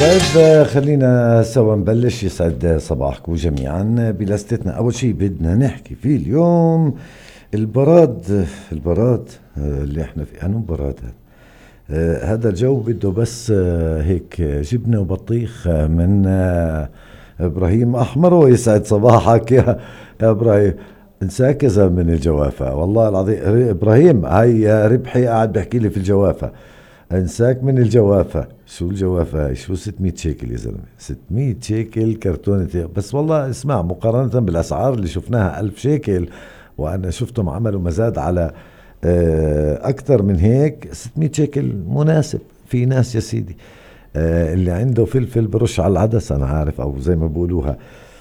طيب خلينا سوا نبلش. يسعد صباحكم جميعا بلستنا. أول شيء بدنا نحكي فيه اليوم البراد اللي احنا فيه. أنو براد هذا الجو بده بس هيك جبنة وبطيخ من إبراهيم أحمر. ويسعد صباحك يا إبراهيم. انساك يا زلمة من الجوافة والله العظيم. إبراهيم هاي ربحي قاعد بحكي لي في الجوافة. انساك من الجوافة. شو الجوافة؟ شو 600 شيكل يا زلمة؟ 600 شيكل كرتونة. بس والله اسمع، مقارنة بالأسعار اللي شفناها 1000 شيكل، وأنا شفتهم عملوا مزاد على أكثر من هيك. 600 شيكل مناسب. في ناس يا سيدي اللي عنده فلفل برش على العدس، أنا عارف، أو زي ما بقولوها.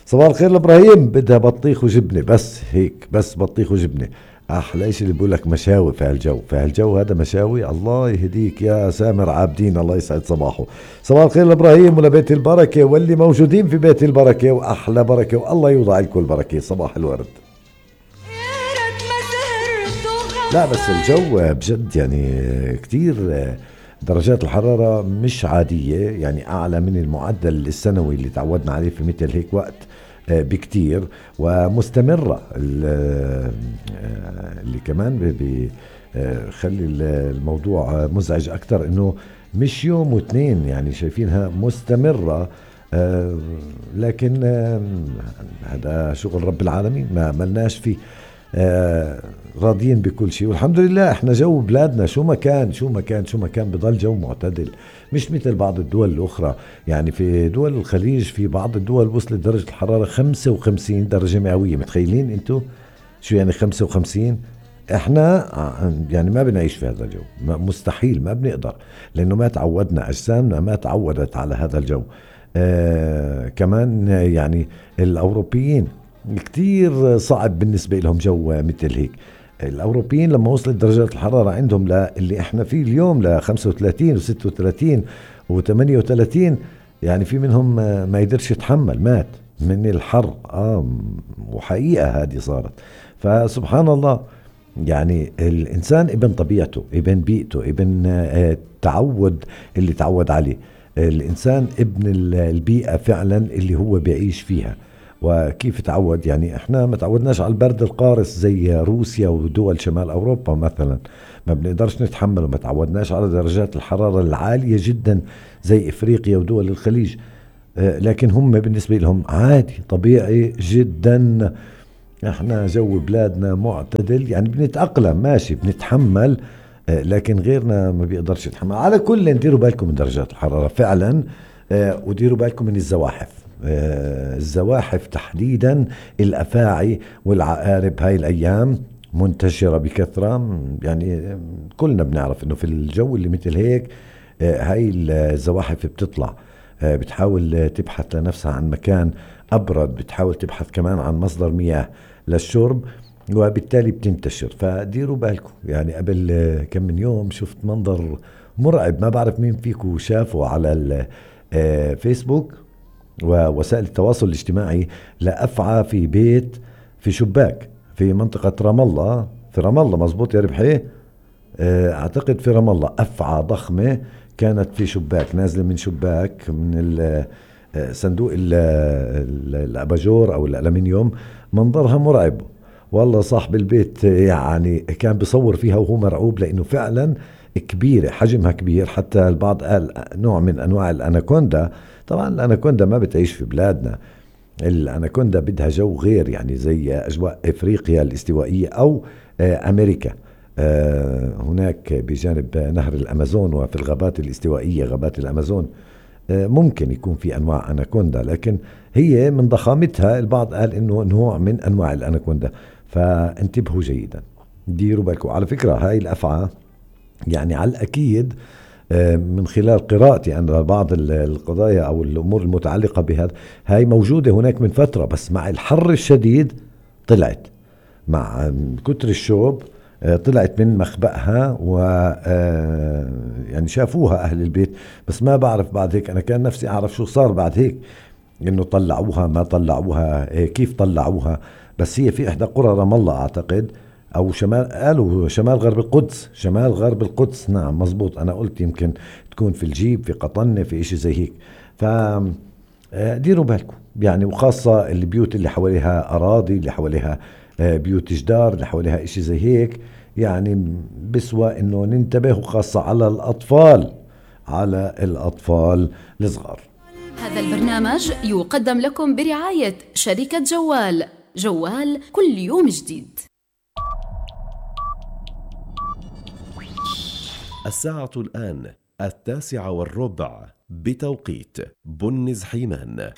صباح الخير لإبراهيم. بدها بطيخ وجبنة بس هيك، بس بطيخ وجبنة. أحلى إشي اللي بقول لك مشاوي في هالجو. في هالجو هذا مشاوي. الله يهديك يا سامر عابدين، الله يسعد صباحه. صباح الخير لإبراهيم ولبيت البركة واللي موجودين في بيت البركة، وأحلى بركة، والله يوضع لكم البركة. صباح الورد. لا بس الجو بجد يعني كتير درجات الحرارة مش عادية، يعني أعلى من المعدل السنوي اللي تعودنا عليه في مثل هيك وقت بكتير، ومستمرة. اللي كمان بيخلي الموضوع مزعج أكتر إنه مش يوم واثنين، يعني شايفينها مستمرة. لكن هذا شغل رب العالمين، ما ملناش فيه. راضيين بكل شيء والحمد لله. احنا جو بلادنا شو ما كان بضل جو معتدل، مش مثل بعض الدول الأخرى. يعني في دول الخليج في بعض الدول وصلت درجة الحرارة 55 درجة مئوية. متخيلين انتو شو يعني 55؟ احنا يعني ما بنعيش في هذا الجو، مستحيل، ما بنقدر، لأنه ما تعودنا، أجسامنا ما تعودت على هذا الجو. كمان يعني الأوروبيين كتير صعب بالنسبة لهم جو مثل هيك. الأوروبيين لما وصلت درجات الحرارة عندهم اللي احنا فيه اليوم ل 35 و36 و38، يعني في منهم ما يقدرش يتحمل، مات من الحر. وحقيقة هذه صارت. فسبحان الله، يعني الإنسان ابن طبيعته، ابن بيئته، ابن التعود اللي تعود عليه. الإنسان ابن البيئة فعلا اللي هو بيعيش فيها. وكيف تعود؟ يعني احنا ما تعودناش على البرد القارس زي روسيا ودول شمال اوروبا مثلا، ما بنقدرش نتحمل. وما تعودناش على درجات الحرارة العالية جدا زي افريقيا ودول الخليج. لكن هم بالنسبة لهم عادي، طبيعي جدا. احنا جو بلادنا معتدل، يعني بنتأقلم، ماشي، بنتحمل. لكن غيرنا ما بيقدرش يتحمل. على كل نديروا بالكم من درجات الحرارة فعلا. وديروا بالكم من الزواحف. الزواحف تحديدا، الأفاعي والعقارب هاي الأيام منتشرة بكثرة. يعني كلنا بنعرف إنه في الجو اللي مثل هيك هاي الزواحف بتطلع، بتحاول تبحث لنفسها عن مكان أبرد، بتحاول تبحث كمان عن مصدر مياه للشرب، وبالتالي بتنتشر. فديروا بالكم. يعني قبل كم من يوم شفت منظر مرعب، ما بعرف مين فيكم شافه على الفيسبوك ووسائل التواصل الاجتماعي، لأفعى في بيت في شباك في منطقة رام الله. في رام الله مزبوط يا ربحي؟ اعتقد في رام الله. أفعى ضخمة كانت في شباك، نازلة من شباك من صندوق الأباجور أو الألمنيوم. منظرها مرعب والله. صاحب البيت يعني كان بيصور فيها وهو مرعوب، لأنه فعلا كبيرة، حجمها كبير. حتى البعض قال نوع من أنواع الأناكوندا. طبعا الأناكوندا ما بتعيش في بلادنا. الأناكوندا بدها جو غير، يعني زي أجواء إفريقيا الاستوائية أو أمريكا. هناك بجانب نهر الأمازون وفي الغابات الاستوائية، غابات الأمازون، ممكن يكون في أنواع أناكوندا، لكن هي من ضخامتها البعض قال إنه نوع من أنواع الأناكوندا. فانتبهوا جيدا، ديروا بالكم. على فكرة هاي الأفعى يعني على الأكيد من خلال قراءتي أن بعض القضايا أو الأمور المتعلقة بهذا هاي موجودة هناك من فترة، بس مع الحر الشديد طلعت، مع كتر الشوب طلعت من مخبأها. و يعني شافوها أهل البيت، بس ما بعرف بعد هيك. أنا كان نفسي أعرف شو صار بعد هيك، إنه طلعوها ما طلعوها، كيف طلعوها. بس هي في إحدى قرى رام الله أعتقد، أو شمال، قالوا شمال غرب القدس. شمال غرب القدس، نعم مزبوط. أنا قلت يمكن تكون في الجيب، في قطنة، في إشي زي هيك. ديروا بالكم يعني، وخاصة البيوت اللي حواليها أراضي، اللي حواليها بيوت جدار، اللي حواليها إشي زي هيك، يعني بسوى إنه ننتبه، وخاصة على الأطفال الصغار. هذا البرنامج يقدم لكم برعاية شركة جوال. جوال كل يوم جديد. الساعة الآن 9:15 بتوقيت بنز حيمان.